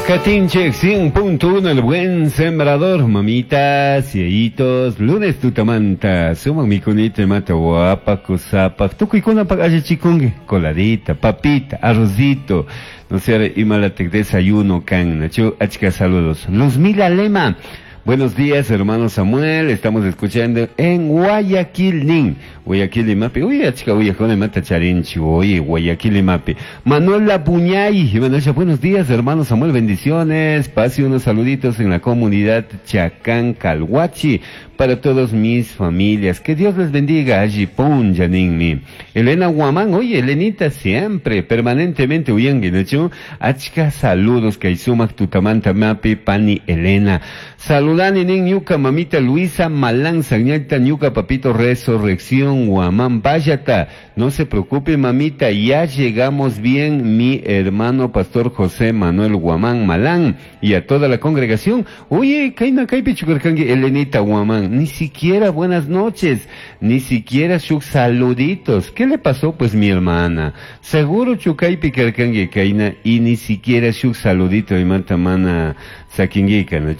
Katinchik 100.1 El Buen Sembrador, mamitas, yayitos, lunes tutamanta, sumak mikunita imata wapak, kusapak, tukuykunapak allichikunki, coladita, papita, arrocito, no sé, imalatik desayuno kan, nachu, achka saludos. Luzmila Lema, buenos días, hermano Samuel, estamos escuchando en Guayaquil, nin. Guayaquil imapi, uy, achka uyajuna imata charinchi, oye, Guayaquil imapi. Manuela Puñay, Manuela, buenos días, hermano Samuel, bendiciones. Pase unos saluditos en la comunidad Chacán Calhuachi para todos mis familias. Que Dios les bendiga, allí punja ninmi. Elena Guamán, oye, Elenita, siempre, permanentemente uyangi, ¿no? Achka saludos, Kaisumak, Tutamanta, Mapi, Pani, Elena. Saludani nin ñuka mamita Luisa Malán Sañalta ñuka papito Resurrección Guamán Bayata. No se preocupe mamita, ya llegamos bien mi hermano pastor José Manuel Guamán Malán y a toda la congregación. Oye, kaina kaypi chukarkanki Elenita Guamán, ni siquiera buenas noches, ni siquiera sus saluditos. ¿Qué le pasó pues mi hermana? Seguro chukaypi karkanki kaina y ni siquiera sus saludito y mata mana sakinguika, ¿no?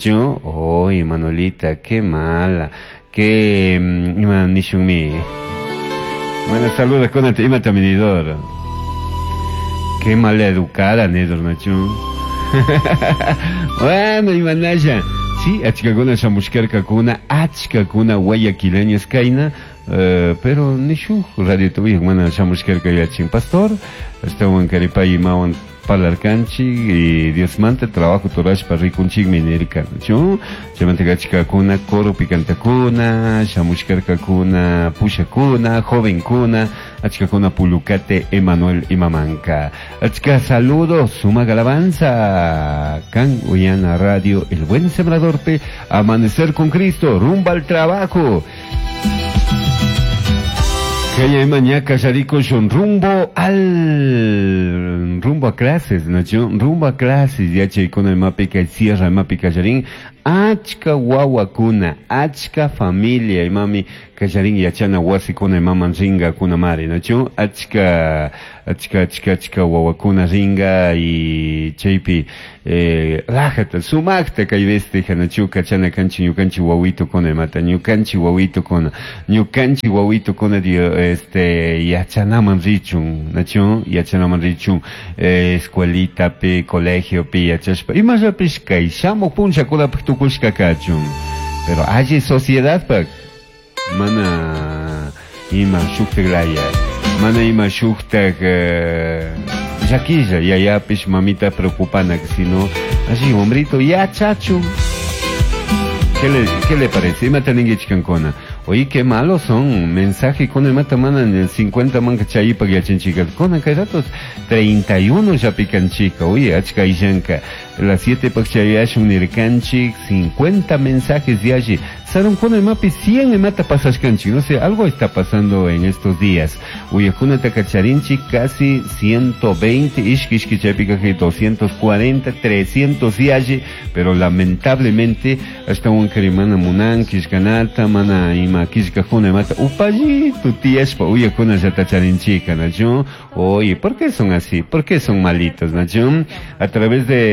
Oye, Manolita, qué mala, qué ima nishunmi. Bueno, saludos con el ima taminidor. Qué mal educada, Nedor, ¿no? Bueno, imanaya. Sí, achkakuna shamushkarkakuna, achkakuna guayaquileños kaina, pero nishu radio tuvi, mana shamushkarka yachin pastor, estaban karipay imawan parlarkanchik y Dios manta trabajo turashpa rikunchikmi nirka, ¿no? Chaymanta achkakuna coro picantakuna, shamushkarkakuna, pushakuna, jovenkuna, achkakuna pulucate Emanuel Imamanka. Achka saludos, sumak alabanza, kan Uyana Radio, El Buen Sembrador P, Amanecer con Cristo, rumba al trabajo. Kaya mañaka sharikushun rumbo al rumbo a clases, ¿no? Rumbo a clases, yachaykuna imapi kay sierra imapi kallarin, achka wawakuna, achka familia imami kallarin yachana wasikuna imaman ringa kuna mari, ¿no? Achka, achka, achka, achka wawakuna ringa y chaypi rajata, sumakta kay besteja, ¿no? Kachana kanchi ñukanchi wawito kuna imata, ñukanchi wawito kuna, ñukanchi wawito kuna dio, este, yachanaman richun, ¿no? Yachanaman richun, escuelita pi, colegio pi, yachashpa, imallapish kay shamuq punllakunapaq tukushka kachun. Pero alli sociedad pak, mana ima shuktak laya, mana ima shuktak llakilla, yayapish mamita preocupana, sino así, hombrito, yachachun. ¿Qué le parece? Imata ninguichkankuna. Oye, qué malos son. Mensaje con el mata mana en el 50 manca chayipa yachanchica. Con acá ratos 31 ya pican chica. Oye, achka ishanka. Las 7 pakchayashun nirkanchik, 50 mensajes de allí. Saron con el mapi 100 me mata pasashkanchik. No sé, algo está pasando en estos días. Oye, kuna takacharinchik casi 120, ishki ishki chaypika 240, 300 de allí. Pero lamentablemente, hasta un karimana munan, kishkanata, mana ima kishkajuna mata, upallito tiyashpa uyakuna llatacharinchika, ¿no? Oye, ¿por qué son así? ¿Por qué son malitos, no? A través de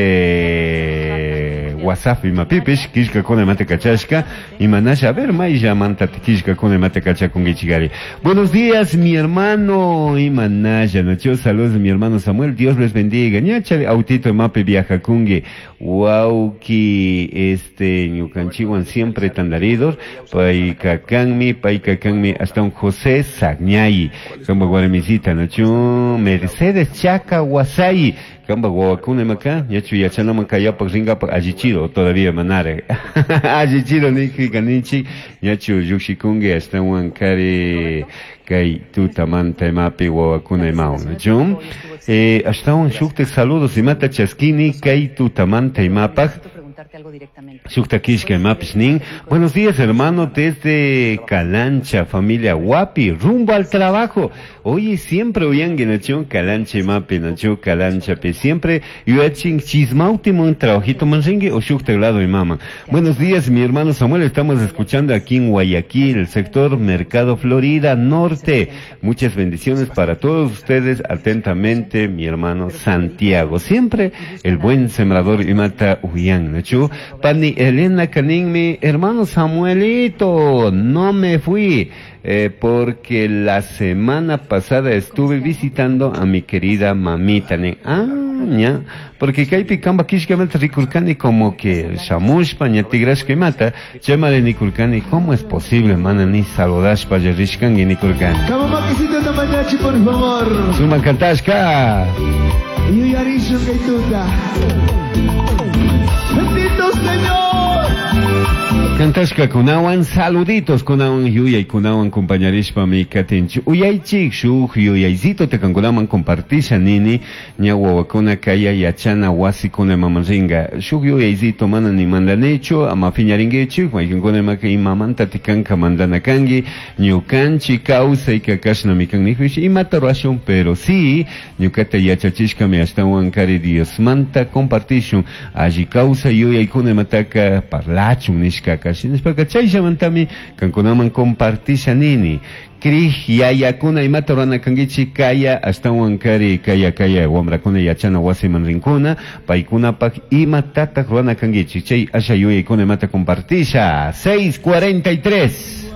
WhatsApp imapipish, kishkakuna mata kachashka, imanasha, a ver, maylla manta kishkakuna mata kachakungichigari. Buenos días, mi hermano imanasha, ¿no? Saludos, mi hermano Samuel, Dios les bendiga. Ñacha, autito imapi viajakungi, wauki, este, ñukanchiwan siempre tandaridos, paykakanmi, paykakanmi, hasta un José Sagñay, kamba guaramisita, ¿no? Mercedes Chaca Guasay, kamba guacuna maca, yachu yachana maca yapak ringapak allichido, todavía manare. Allichido niki kanichi, yachu yukshikungi, hasta un kari, kay tutamanta imapi wawakuna imao, ¿no? Hasta un shukte saludos imata chaskini, kay tutamanta imapak. Shukta kishka imapish nin. Buenos días, hermano, desde Calancha, familia Guapi, rumbo al trabajo. Oye, siempre uyangi nachu Calancha imapi nachu Calanchapi. Siempre yuyachin chismautimun trabajito manringi o shukta lado imama. Buenos días, mi hermano Samuel. Estamos escuchando aquí en Guayaquil, sector Mercado Florida Norte. Muchas bendiciones para todos ustedes. Atentamente, mi hermano Santiago. Siempre el buen sembrador imata uyan nachu. Pani Elena Canin, mi hermano Samuelito, no me fui. Porque la semana pasada estuve visitando a mi querida mamita. Ah, ña, porque kaypi kamba kishkamanta rikurkani como que shamushpa ña tigrashka imata, chaymari nikurkani, ¿cómo es posible, mana ni saludashpa rishkanki nikurkani? Kamamakisita por favor. Sumak kantashka. Yuyarishun kaytuta. Bendito Señor. Kantashka kunawan saluditos kunawan yuyay kunawan compañarishpami katinchi uyaychik shuk yuyaycito tekankunaman compartisha nini ña wawakuna kaya yachana wasikuna imaman ringa shuk yuyaycito mana ni mandanichu ama piñaringuichik maykankuna imaka imamanta tikanka mandana kanki ñukanchik kawsayka kashnami kan nijpish imata rurashun, pero sí ñukata yachachishkami ashtawan kari Diosmanta compartishun alli kawsay yuyaykuna imataka parlachun nishkaka shinashpaka chayllamantami kankunaman compartisha nini. Krij yayakuna imata rurana kankichik kaya ashtawan kari kaya kaya wamrakuna yachana wasiman rinkuna paykunapak imatataq rurana kankichik chay asha yuyaykuna imata compartisha. 6:43.